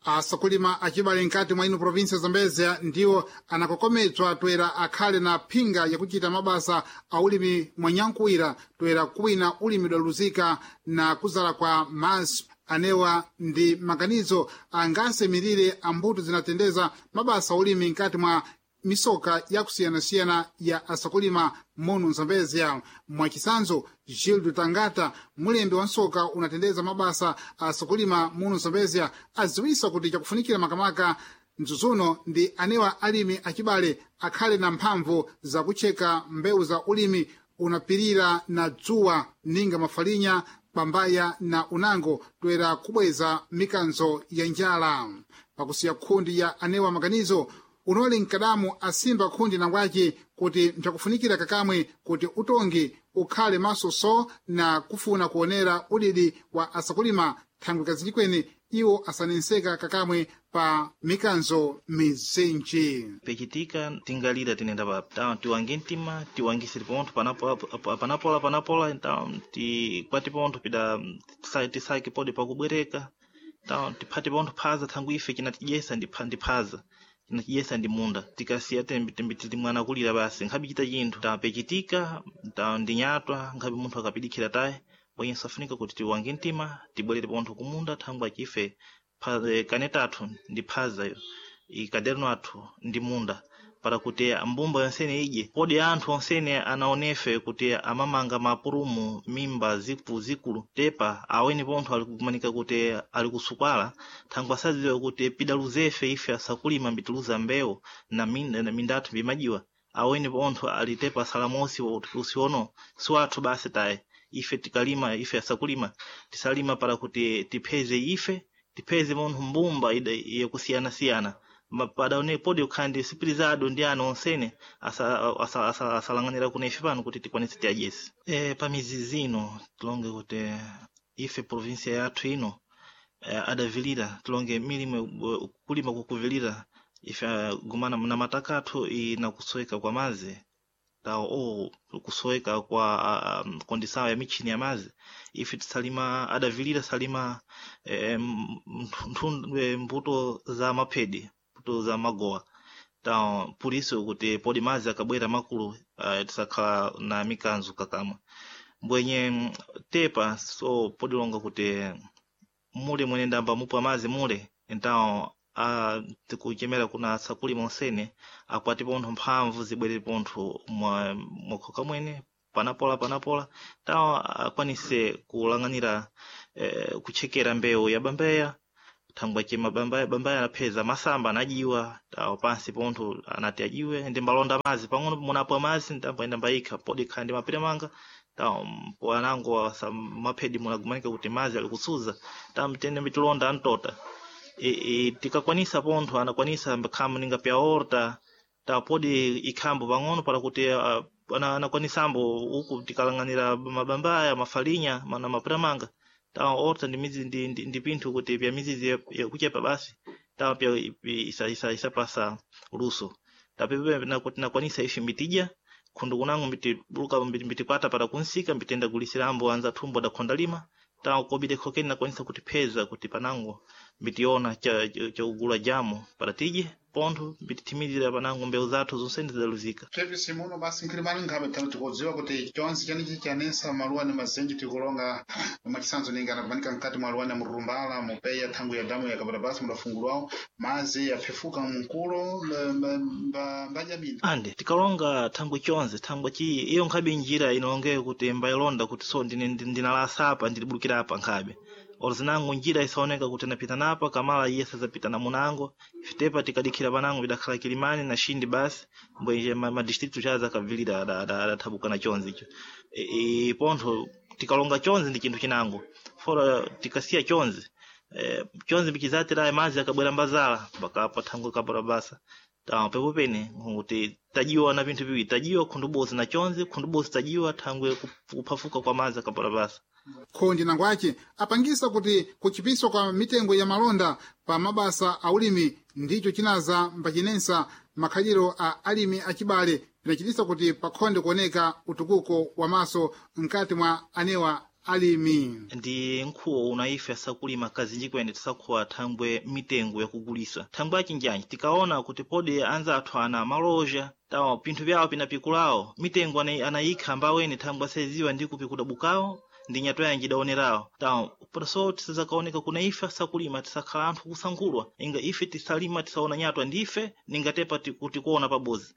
Asakulima acibale nkati mwa ino provinsia Zambezia ndiwo anakokomedzwa toera akhale na phinga yakuchita mabasa a ulimi mwanyankuwira toera kuwina ulimi udaluzika na kuzala kwa mazi anewa ndi maganizo angasemirire ambuto zinatendeza mabasa a ulimi nkati mwa misoka yakusiyanasiyana ya asakulima muno Zambezia. Mwachisanzo, Gildo Tangata, mulembi wa nsoka unatendeza mabasa a asakulima muno Zambezia, aziwisa kuti chakufunikira makamaka mzuzuno ndi anewa alimi acibale akhale na mphamvu zakutcheka mbewu za ulimi unapirira na dzuwa ninga mafalinya pambaya na unango toera kubweza mikanzo ya njala. Pakusiya khundi ya anewa maganizo unoli mkadamu asimba khundi nangwace kuti mpyakufunikira kakamwe kuti utongi ukhale maso so na kufuna kuonera udidi wa asakulima thangwi kazinji iwo asanenseka kakamwe pa mikanzo mizinji. Pechitika tingalira tinenda pa ta tiwange mtima tiwangisire pontho panapola panapola então tikwate pontho pida tisake pode pakubwereka então tiphate pontho phaza thangwi ife cinatidyesa ndi phaza tinachiyesa ndi munda tikasiya tembi tembi tili mwana kulira basi nkhabe chita chinthu tapechitika ta ndinyatwa nkhabe munthu akapidikhira taye bwenye safunika kuti tiwange mtima tibwerere pontho kumunda thangwi achife kane tathu ndi phaza iyo ikaderno athu ndi munda para kuti mbumba yonsene idye kodi anthu onsene anaonefe kuti amamanga mapurumu mimba zikulu zikulu tepa aweni pontho ali kumanika kuti ali kusukwala thangwi asadziwe kuti pidaluzefe ife asakulima mbitiluza mbewu na minda, na minda athu mbimajiwa aweni pontho ali tepa salamosi usiono siwathu basi taye ife tikalima ife asakulima tisalima para kuti tipheze ife tipheze munthu mbumba ida yakusiyanasiyana padaone podi ukhandi sipirizado ndi ana onsene asalang'anira kuno ife pano kuti tikwanise tiadyese pamizi zino tilonge kuti ife provinsia yathu ino adavilira tilonge milimo kulima kukuvilira ife gumana na mataka athu ina kusoweka kwa mazi tawo o kusoweka kwa kondisawo ya michini ya mazi ife tisalima adavilira salima mbuto za maphedi mbuto za magowa ta por isso kuti podi mazi akabwera makulu tisakhala na mikanzo kakamwa mbwenye tepa so podilonga kuti mule mwene ndamba mupa mazi mule então tikuchemera kuna asakulima onsene akwati pontho mphamvu zibwerere pontho mwakhoka mwene panapola panapola tawo akwanise kulang'anira kutchekera mbewu ya bambeya thangwi acema bambaya bambaya anapheza masamba anajiwa tawo pansi pontho anati ajiwe ndi mbalonda mazi pang'ono munapo mazi ndamboenda mbayikha podi khala ndi mapiri manga tawo po anango maphedi munagumanika kuti mazi ali kusuza tawo mtende mbitilonda antota tikakwanisa pontho anakwanisa mbakhamu ninga pya horta tawo podi ikhambo pang'ono para kuti anakwanisambo uku tikalang'anira mabambaya mafalinya na mapiramanga tawa horta ndi mizi ndi, ndi, ndi pinthu kuti pya mizizi yakuchepa basi tawa pya isapasa luso tapepe nakwanisa ife mitija khundu kunango mbitibuluka mbitikwata para kunsika mbitenda gulisirambo anza thumbo dakhonda lima tawa kobide khokeni nakwanisa kutipheza kuti panango mbitiona cha jamo para tije pontho mbitithimizira panango mbewu zathu zonsene zidaluzika. Pepisi muno basi nkhilimani nkhabe tano tikudziwa kuti chonse chenichi chanesa maluwa ni mazenji tikulonga mwachisanzo ninga anakumanika mkati mwa luwani murumbala mupeya thangu ya damu yakapata basi mudafungulwawo mazi yaphefuka mkulo mbajabina ande tikalonga thangwi chonse thangwi chi iyo nkhabe njira inalongeyo kuti mbayilonda kuti so ndinalasa apa ndilibulukira apa nkhabe orozinango njira isaoneka kuti napita napa kamala iye sazapita na munango ifitepa tikadikhira panango bidakhala kilimani na shindi basi mbwenje ma district chaza akavilira adathabuka na chonse icho pontho tikalonga chonse ndi chinthu chinango fora tikasiya chonse chonse bichizatiraye mazi akabwera mbazala mpaka thangwi kapora basa ta pepo pene kuti tajiwa na vinthu viwiri tajiwa khundu bosi na chonse khundu bosi tajiwa thangwi kuphafuka kwa mazi akapora basa. Khondi nangwace apangisa kuti kuchipiswa kwa mitengo ya malonda pa mabasa a ulimi ndicho chinaza mbachinensa makhaliro a alimi acibale pinachitisa kuti pakhonde kuoneka utukuko wa maso mkati mwa anewa alimi. Ndi nkhuwo una ife asakulima kazinji kwene tisakhuwa thangwe mitengo yakugulisa thangwe achinjanji tikaona kuti podi anzathu ana maloja tawa pinthu pyawo pinapikulawo mitengo anayikha mbaweni thangwe asayiziwa ndi kupikuda bukawo ndi nyatwa yanji idaonerawo tawa so tisazakaoneka kuna ife asakulima tisakhala anthu kusankhulwa inga ife tisalima tisaona nyatwa ndife ningatepa tikuona pabozi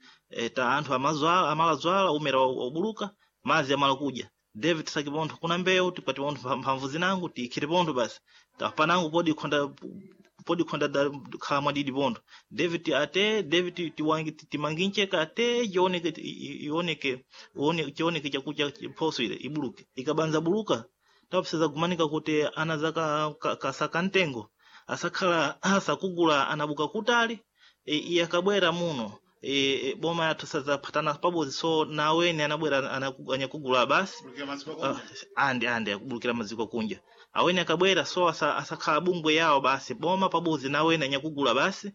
ta anthu amazwala amalazwala umera wabuluka mazi amala kudya David tisake pontho kuna mbewu tikwati pontho mphamvu zinango tiikhire pontho basi panango podi khonda podi khonda khala mwadidi pontho David ate David tiwangi timangincheka ate ioneke ioneke chioneke chakudya phoso ile ibuluke ikabanza buluka tapseza gumanika kuti ana zaka kasaka mtengo asakhala asakugula anabuka kutali iye akabwera muno boma yathu sazaphatana pabodzi so naweni anabwera anyakugula basi andi andi akubulukira maziko kunja aweni akabwera so asakhala bungwe yawo basi boma pabodzi naweni anyakugula basi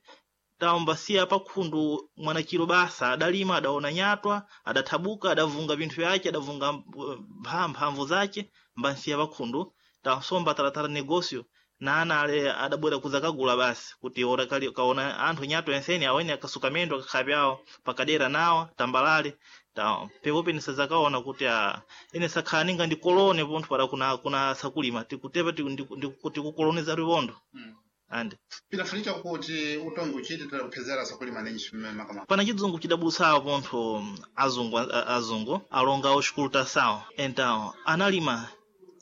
tawambasiya pakhundu mwanachiro basa adalima adaona nyatwa adathabuka adavunga pinthu yace adavunga mphamvu zace mbansiya pakhundu tasomba talatala negosio na ana ale adabwera kuzakagula basi kuti ora kali kaona anthu nyatwa enseni aweni akasuka mendo akakhala pyawo pakadera nawo tambalale ta pepope nisazakaona kuti ine sakhala ninga ndikolone pontho para kuna sakulima tikutepa tikukoloneza riwondo andi pinafunika kuti utongi uchite kuphezera sakulima nenji makamaka pana chidzungu chidabulusawo pontho azungu azungu alonga oxikuluta então analima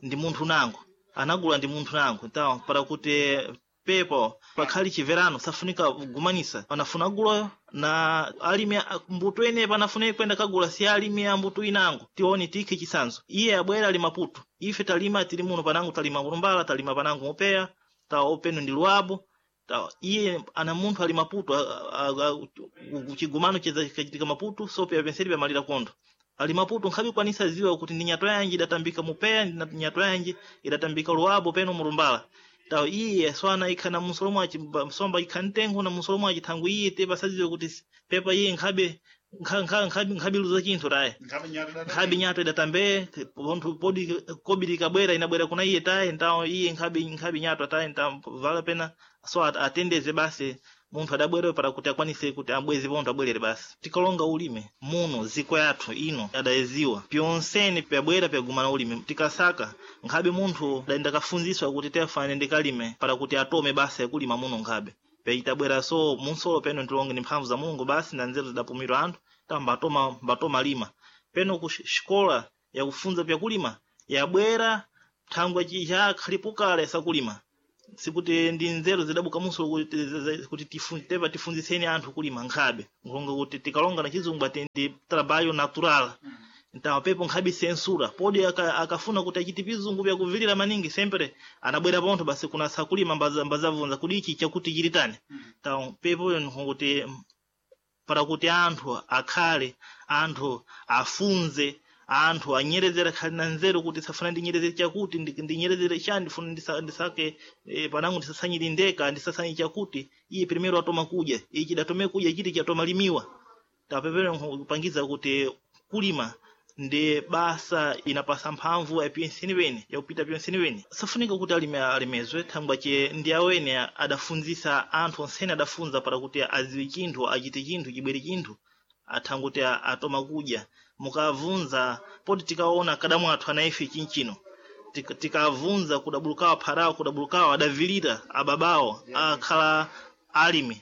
ndi munthu nango anagula ndi munthu nango então para kuti pepo pakhali chiverano safunika kugumanisa panafuna guloyo na alimi mbuto ene panafuna kwenda kagula si alimi a mbuto inango tione tikhe chisanzo iye abwera ali maputo ife talima tili muno panango talima mulumbala talima panango mupeya tawa openo ndi luabo tawa iye ana munthu ali maputo chigumano chachitika maputo so peya penseli pamalira kondo ali maputo nkhabikwanisa ziwa kuti ndi nyatwa yanji idatambika mupeya ndi nyatwa yanji idatambika luabo peno mulumbala tawo iye swana ikha na musolo mwaci somba ikha mtengo na musolo mwaci thangu iye te pasaziwe kuti pepa iye nkhabe nkhabiluza chinthu taye nkhabe nyato idatambe pontho podi kobiri ikabwera inabwera kuna iye taye ntawo iye nkhabe nyato taye ntawo vala pena so atendeze basi munthu adabwera para kuti akwanise kuti abweze pontho abwerere basi tikalonga ulime muno ziko yathu ino adayeziwa pyonsene pyabwera pyagumana ulime tikasaka nkhabe munthu adayenda kafunziswa kuti tefane ndikalime para kuti atome basa yakulima muno nkhabe peitabwera so munsolo peno ndilonge ni mphamvu za Mulungu basi na nzeru zidapumirwa anthu ta mbatoma lima peno ku xikola yakufunza pyakulima yabwera thangwe chakhalipukale sakulima sikuti ndi nzeru zidabuka muso kuti tepa tifunziseni anthu kulima nkhabe nkulonga kuti tikalonga na chizungu ati ndi trabalho natural então pepo nkhabe censura podi akafuna kuti achite pizungu pyakuvilira maningi sempre anabwera pontho basi kuna sakulima mbazavunza kuti ichi chakuti chilitani então pepo nkuti para kuti anthu akhale anthu afunze anthu anyerezera khali na nzeru kuti safuna ndinyerezere chakuti ndinyerezere chani ndifuna ndisake panango ndisasanyire ndeka ndisasanye chakuti iye primero atoma kudya ichi datome kudya chiti chatoma limiwa tapepere kupangiza kuti kulima ndi basa inapasa mphamvu ya pyenseni wene yakupita pyenseni wene safunika kuti alime alemezwe thangwa che ndi awene adafunzisa anthu onsene adafunza para kuti aziwe chinthu achite chinthu chibwere chinthu athanguti atoma kudya mukavunza poti tikaona kadamu athu anaife chinchino tikavunza kudabulukawa pharawo kudabulukawa adavilira ababawo akhala alimi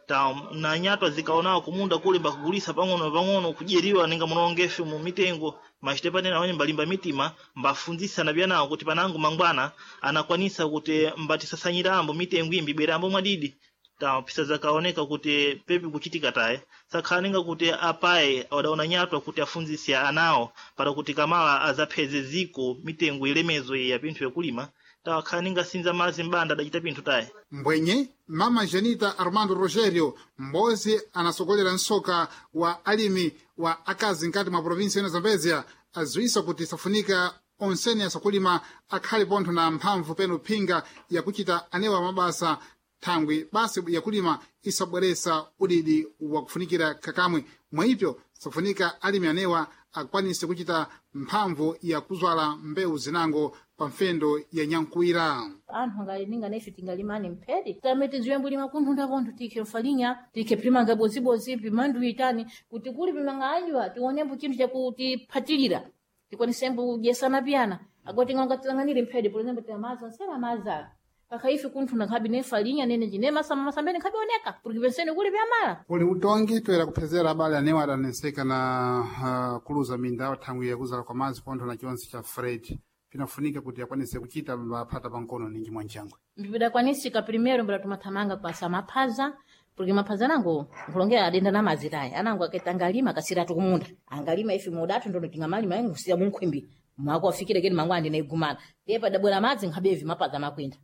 ta na nyatwa zikaonawo kumunda kule mbakugulisa pang'ono pang'ono kudyeriwa ninga munongefe mu mitengo machite panene awene mbalimba mitima mbafunzisa na byanawo kuti panango mangwana anakwanisa kuti mbatisasanyira mitengo imbi ibwerambo mwadidi ta pisa zakaoneka kuti pepi kuchitika taye sakhala ninga kuti apaye adaona nyatwa kuti afunzise anawo para kuti kamala azapheze ziko mitengo ilemezo ya pinthu yakulima tawakhala ninga sinza mazi mbanda adachita pinthu taye mbwenye mama Janita Armando Rogerio mbozi anasogolera msoka wa alimi wa akazi nkati mwa provinsi ino Zambezia aziwisa kuti safunika onsene asakulima akhale pontho na mphamvu peno phinga yakuchita anewa mabasa thangwi basi yakulima isabweresa udidi wakufunikira kakamwe mwaipyo safunika alimi anewa akwanise kuchita mphamvu ya kuzwala mbewu zinango pa mfendo ya nyankuwira. Anthu angalinga na ife tingalimani mphedi tame tiziwembo lima kunthunda pontho tikhe mfalinya, tikhe phimanga bozibozi, pimandu itani kuti kuli pimanga anjwa tionembo chinthu chakutiphatilira, tikwanisembo kudyesana piyana agoti ng'onga tilang'anire mphedi. Por exemplo, tiamaza nsena mazala pakha ife kunthunda nkhabe ne falinya nene njine masamba masambene nkhabe oneka porque pensene kuli pyamala. Uli utongi toera kuphezera abale anewo adaneseka na kuluza minda thangwi yakuzala kwa madzi pontho na chonse cha Fred, pinafunika kuti akwanise kuchita maphata pankono ninji mwanchangwe. Mbidakwanisika primeiro mbira tumathamanga kwasa maphaza, porque maphaza anango nkulongera adenda na madzi tayi anango akaita angalima akasiratu kumunda angalima ife mudatu ndono tingamalima ngusiya munkhwimbi mwako afikire keni mangu andine igumana ndiye padabwera madzi nkhabevi mapaza makwinda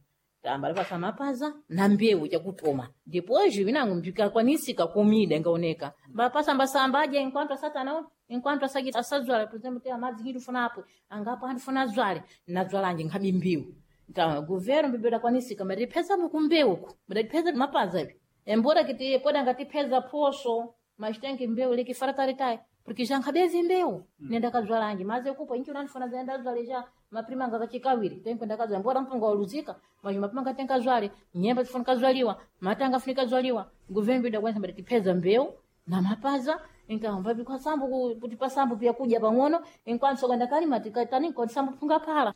tamba lipasa mapaza na mbewu chakutoma. Depois vinango mbikakwanisika kumida ingaoneka mbapasa mbasamba aje enquanto asatana enquanto asaki asadzwala. Por exemplo, tem madzi kintu funa apo angapo andifuna adzwale nadzwalanje nkhabi mbewu. Então governo mbibidakwanisika matipeza mukumbewuku mdatipeza mapaza ivi embora kiti poda ngatipeza poso mas tem que mbewu likifarataretai porque já nkhabezi mbewu nenda kadzwalanji maze kupo inchi unandifuna zaenda dzwale já maprima anga kachikawiri tenko ndakadzwa mbora mpunga waluzika mas mapima nga tenka zwale nyemba zifunika zwaliwa matanga afunika zwaliwa. Governo bidakwanisa mdatipeza mbewu na mapaza. Então vai kwasambo kuti pasambo pya kudya pang'ono enquanto sokanda kalima tikatani nkoti sambo phunga phala.